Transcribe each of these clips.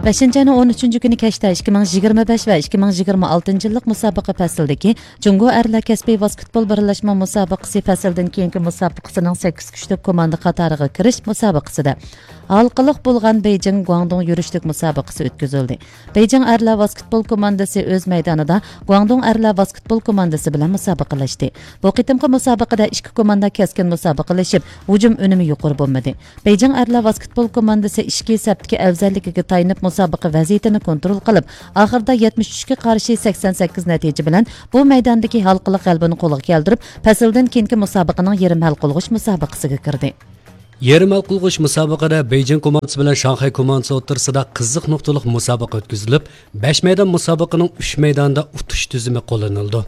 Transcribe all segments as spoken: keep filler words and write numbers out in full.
بەشىنچى ئاينىڭ ئون ئۈچىنچى كۈنى كەچتە ئىككى مىڭ يىگىرمە بەش ۋە ئىككى مىڭ يىگىرمە ئالتىنچى يىللىق مۇسابىقە پەسلىدىكى جۇڭگو ئەرلەر كەسپىي ۋاسكېتبول بىرلەشمە مۇسابىقىسى پەسلىدىن كېيىنكى مۇسابىقىسىنىڭ سەككىز كۈچلۈك كوماندا قاتارىغا كىرىش مۇسابىقىسىدە ھالقىلىق بولغان بېيجىڭ گۇاڭدۇڭ يۈرۈشلۈك مۇسابىقىسى ئۆتكۈزۈلدى. بېيجىڭ ئەرلەر ۋاسكېتبول كوماندىسى ئۆز مەيدانىدا گۇاڭدۇڭ ئەرلەر ۋاسكېتبول كوماندىسى بىلەن مۇسابىقىلەشتى. بۇ قېتىمقى مۇسابىقىدە ئىككى كوماندا كەسكىن مۇسابىقىلىشىپ، ھۇجۇم ئۈنۈمى يۇقىرى بولمىدى. بېيجىڭ ئەرلەر ۋاسكېتبول كوماندىسى ئىچكى سەپتىكى ئەۋزەللىكىگە تايىنىپ مۇسابىقە ۋەزىيىتىنى كونترول قىلىپ، ئاخىرىدا يەتمىش ئۈچكە قارشى سەكسەن سەككىز نەتىجە بىلەن بۇ مەيداندىكى ھالقىلىق غەلىبىنى قولغا كەلتۈرۈپ، پەسىلدىن كېيىنكى مۇسابىقىنىڭ يېرىم ھەل قىلغۇچ مۇسابىقىسىگە كىردى. يېرىم ھەل قىلغۇچ مۇسابىقىدە بېيجىڭ كوماندىسى بىلەن شاڭخەي كوماندىسى ئوتتۇرىسىدا قىزىق نۇقتىلىق مۇسابىقە ئۆتكۈزۈلۈپ، بەش مەيدان مۇسابىقىنىڭ ئۈچ مەيدانىدا ئۇتۇش تۈزۈمى قوللىنىلىدۇ.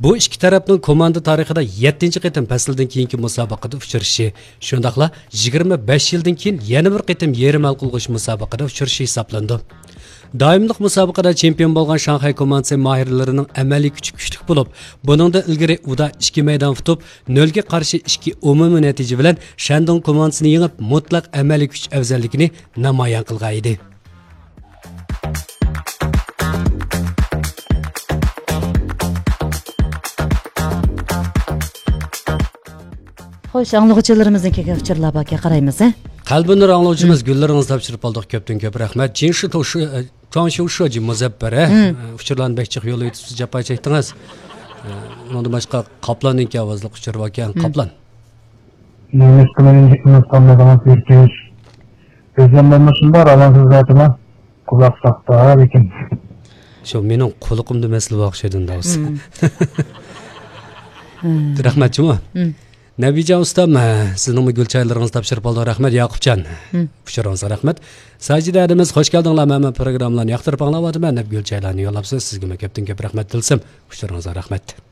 بۇ ئىككى تەرەپنىڭ كوماندا تارىخىدا يەتتىنچى قېتىم پەسىلدىن كېيىنكى مۇسابىقىدە ئۇچرىشىشى، شۇنداقلا يىگىرمە بەش يىلدىن كېيىن يەنە بىر قېتىم يېرىم ھەل قىلغۇچ مۇسابىقىدە ئۇچرىشىشى ھېسابلىنىدۇ. دائىملىق مۇسابىقىدە چېمپىيون بولغان شاڭخەي كوماندىسى ماھىرلىرىنىڭ ئەمەلىي كۈچى كۈچلۈك بولۇپ، بۇنىڭدىن ئىلگىرى ئۇدا ئىككى مەيدان ئۇتۇپ، نۆلگە قارشى ئىككى ئومۇمىي نەتىجە بىلەن شەندۇڭ كوماندىسىنى يېڭىپ، مۇتلەق ئەمەلىي كۈچ ئەۋزەللىكىنى نامايان قىلغان ئىدى. خوش، ئاڭلىغۇچىلىرىمىزدىن كەلگەن ئۇچۇرلار باركەن، قارايمىز، ھە؟ قەلبىنۇر ئاڭلىغۇچىمىز، مم، گۈللىرىڭىزنى تاپشۇرۇپ قالدۇق، كۆپتىن كۆپ رەھمەت. جىنشى توشۇ، ئە، چۇاڭشۇ شۇجى مۇزەپپەر، ھە؟ مم. ئە، ئۇچۇرلارنى بەك جىق يوللاۋېتىپسىز، جاپا چەكتىڭىز. ئە، ئۇنىڭدىن باشقا قاپلاننىڭكى ئاۋازلىق ئۇچۇر باركەن، مم، قاپلان. نېمىشقا مېنى ھېچ ئۇنتۇپ قالمىدىڭىز، يۈرىكىم؟ ئۆزۈم بولمىسۇن بار، ئاۋازىڭىز ئېيتىمەن. قۇلاق ساقتا لېكىن. شۇ مېنىڭ قۇلىقىمدا مەسىلە بار ئوخشايدۇ، داۋۇس. مم. مم. رەھمەت جۇمۇ. مم. نەبىجان ئۇستام، سىزنىڭمۇ گۈل چايلىرىڭىزنى تاپشۇرۇپ قالدۇق. رەھمەت، ياقۇپجان. مم. ئۇچۇرىڭىزغا رەھمەت. ساجىدە ھەدىمىز، خوش كەلدىڭلار، مەن، مەن پروگراممىلارنى ياقتۇرۇپ ئاڭلاۋاتىمەن دەپ گۈل چايلارنى يوللاپسىز. سىزگىمۇ كۆپتىن كۆپ رەھمەت تىلسىم. ئۇچۇرىڭىزغا رەھمەت.